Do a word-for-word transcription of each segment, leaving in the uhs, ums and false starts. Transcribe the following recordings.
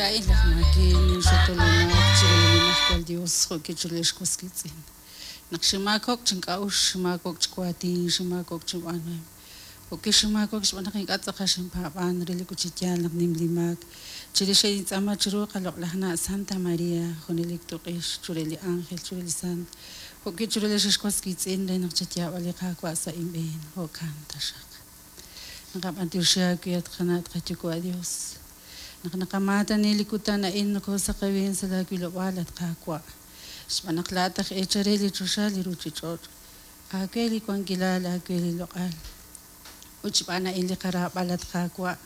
Laa'in laj maakin, ninxutu li maak chiru li Nimajwal Yos jo' chiru li xwas wiitz'in. Naq xinmaakob'k chink'a'uxl, xinmaakob'k chi waatin, xinmaakob'k chinb'aanuhom. Jo'k'i xinmaakob'k xb'aan naq ink'a' tz'aqal xinpaab'an relik ut chi yaal naq nim li maak. Chirix a'in chiru qaloq'laj na' Santa Maria, junelik tuq'ix chiru li ángel, chiru li sant. Jo'k'i chiru li xwas wiitz'in re naq chayaab'a li Qaawa' sa' inb'een. Jo'kan taxaq. Naqab'antioxi aawe at qana' at qayuwa' Dios. Naq naqamaatani li kutan a'in nokoosaqewin sa' laawilob'aal at Qaawa'. Xb'aan naq laa'at aj eechal re li choxa li ruuchich'och'. Aawe li wankilal, aawe li loq'al. Ut xb'aan a'in li qaraab'al at Qaawa'.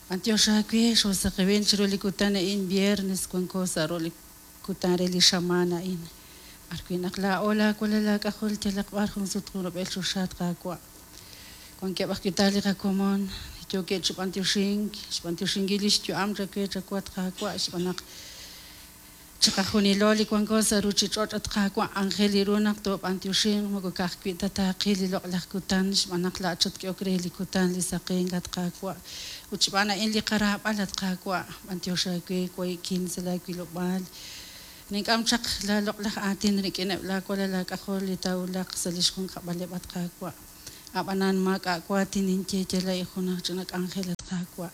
B'antiox aawe xoosaqewin chiru li kutan a'in viernes wanko sa' ro' li kutan re li xamaan a'in. B'arwi' naq laa'o laawalal laak'ajol yalaq b'ar jun sut jun rub'el choxa at Qaawa'. Wankeb' ajwi' ta li qakomon yookeb' chi b'antioxink, xb'antioxinkil li xyu'am chawe chawu at Qaawa' xb'aan naq chiqajunilo li wanko sa' ruuchich'och' at Qaawa' anjel li ru naq toob'antioxinq moko ka'ajwi' ta taaqil li loq'laj kutan xb'aan naq laa'at xatk'ehok re li kutan li saqenk at Qaawa'. Ut xb'aan a'in li qaraab'al at Qaawa' b'antiox aawe wahi'kin sa' laawilob'aal. Nink'am chaq laaloq'laj aatin rik'ineb' laawalal laak'ajol li taawulaq sa' li xjunkab'aleb' at Qaawa'. Ab'anan maak'a' waatin ninye yal a'in junaq ch'ina k'anjel at Qaawa'.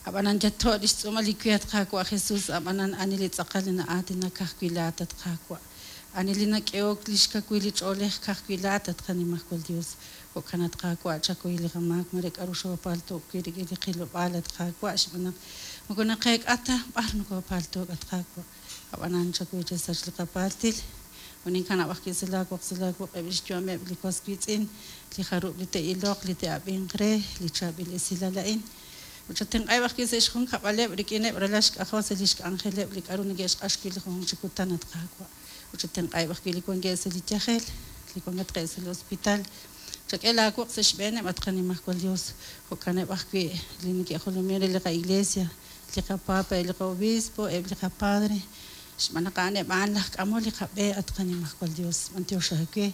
Ab'anan yatto' li xtz'uumal li wi at Qaawa' Jesus, ab'anan ani li tz'aqal li na'aatinak ka'ajwi' laa'at at Qaawa'. Ani li nak'ehok li xkawil li ch'oolej ka'ajwi' laa'at at qanimajwal Dios. Jo'kan at Qaawa' chakuy li qamaak mare k'aru xoopalto'k wi' rik'in li qilob'aal at Qaawa' xb'aan naq moko naqeek'a ta b'ar nokoopalto'k at Qaawa'. Ab'anan chakuy chasach li qapaaltil. Uninkanab' ajwi' sa' laawoq sa' laawoq'eb' li xyu'ameb' li was wiitz'in, li jarub' li te'iloq, li te'ab'inq re, li chaab'il esilal a'in. Ut chatenq'aeb' ajwi' sa' xjunkab'aleb' rik'ineb' ralal xk'ajol sa' li xk'anjeleb' li k'aru neke'xq'ax wi' li junjunq chi kutan at Qaawa'. Ut chatenq'aeb' ajwi' li wankeb' sa' li yajel, li wankatqeb' sa' li hospital. Chak'e laawoq sa' xb'eeneb' at qanimajwal Dios. Jo'kaneb' ajwi' li neke'jolomin re li qa'iglesia, li qapapa, eb' li qa'obispo, eb' li qapadre. Xb'aan naq a'aneb' a'an laj k'amol li qab'e at qanimajwal Dios. B'antiox aawe.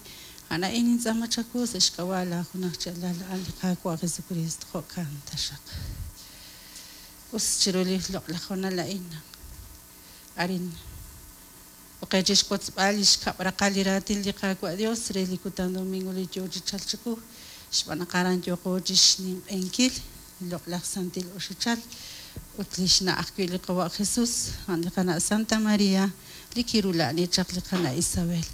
A'an a'in nintz'aama chawu sa' xk'ab'a' laajunaj chi alal a'an li Qaawa' Jesucristo. Jo'kan taxaq. Us chiru li loq'laj hoonal a'in. Arin oqe chi xwotzb'al li xkab' raqal li raatin li Qaawa' Dios re li kutan domingo li yoo chi chalk chiqu. Xb'aan naq aran yooqo chi xninq'ehinkil li loq'laj santil oxichal ut li xna' ajwi' li Qawa' Jesus, a'an li qana' Santa Maria, li kirula'ani chaq li qana' Isabel.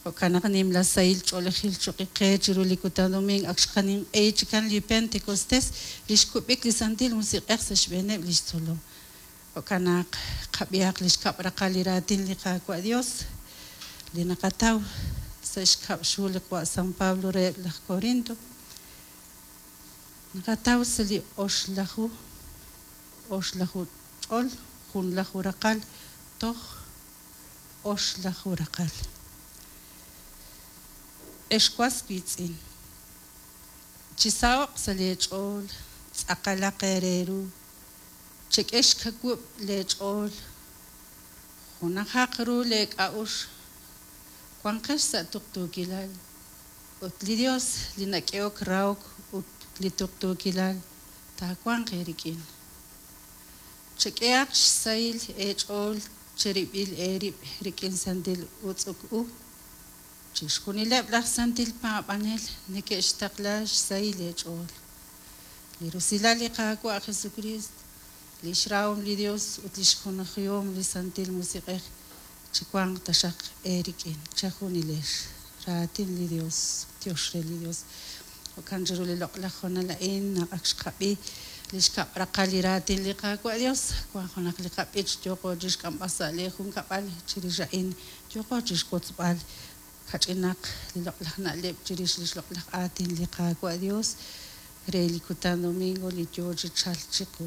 Jo'kan naq nimla sahil ch'oolejil choqi qe chiru li kutan domingo ak xqaninq'ehi chikan li Pentecostés li xkub'ik li Santil Musiq'ej sa' xb'eeneb' li xtzolom. Jo'kan naq qab'ihaq li xkab' raqal li raatin li Qaawa' Dios li naqataw sa' xkab' xhu li Qawa' San Pablo reheb' laj Corinto. Naqataw sa' li oxlaju oxlaju ch'ol junlaju raqal toj oxlaju raqal. Ex was wiitz'in. Chisaho'q sa' leech'ool, tz'aqalaq eere ru, chek'e xkawub' leech'ool, junajaq ru leek'a'uxl, wanqex sa' tuqtuukilal. Ut li Dios li nak'ehok rahok ut li tuqtuukilal taawanq eerik'in. Chek'ehaq xsahil eech'ool cherib'il eerib' rik'in santil utz'uk u. Chixjunileb' laj santil paab'anel neke'xtaqla xsahil eech'ool. Li rusilal li Qaawa' Jesucristo, li xrahom li Dios ut li xjunajihom li Santil Musiq'ej chiwanq taxaq eerik'in chejunilex. Raatin li Dios, tiox re li Dios. Jo'kan chiru li loq'laj hoonal a'in naq ak xqab'i li xkab' raqal li raatin li Qaawa' Dios, wank junaq li qab'ich yooqo chi xk'amb'al sa' li junkab'al chirix a'in yooqo chi xwotzb'al kach'inaq li loq'laj na'leb' chirix li xloq'laj aatin li Qaawa' Dios re li kutan domingo li yoo chi chalk chiqu.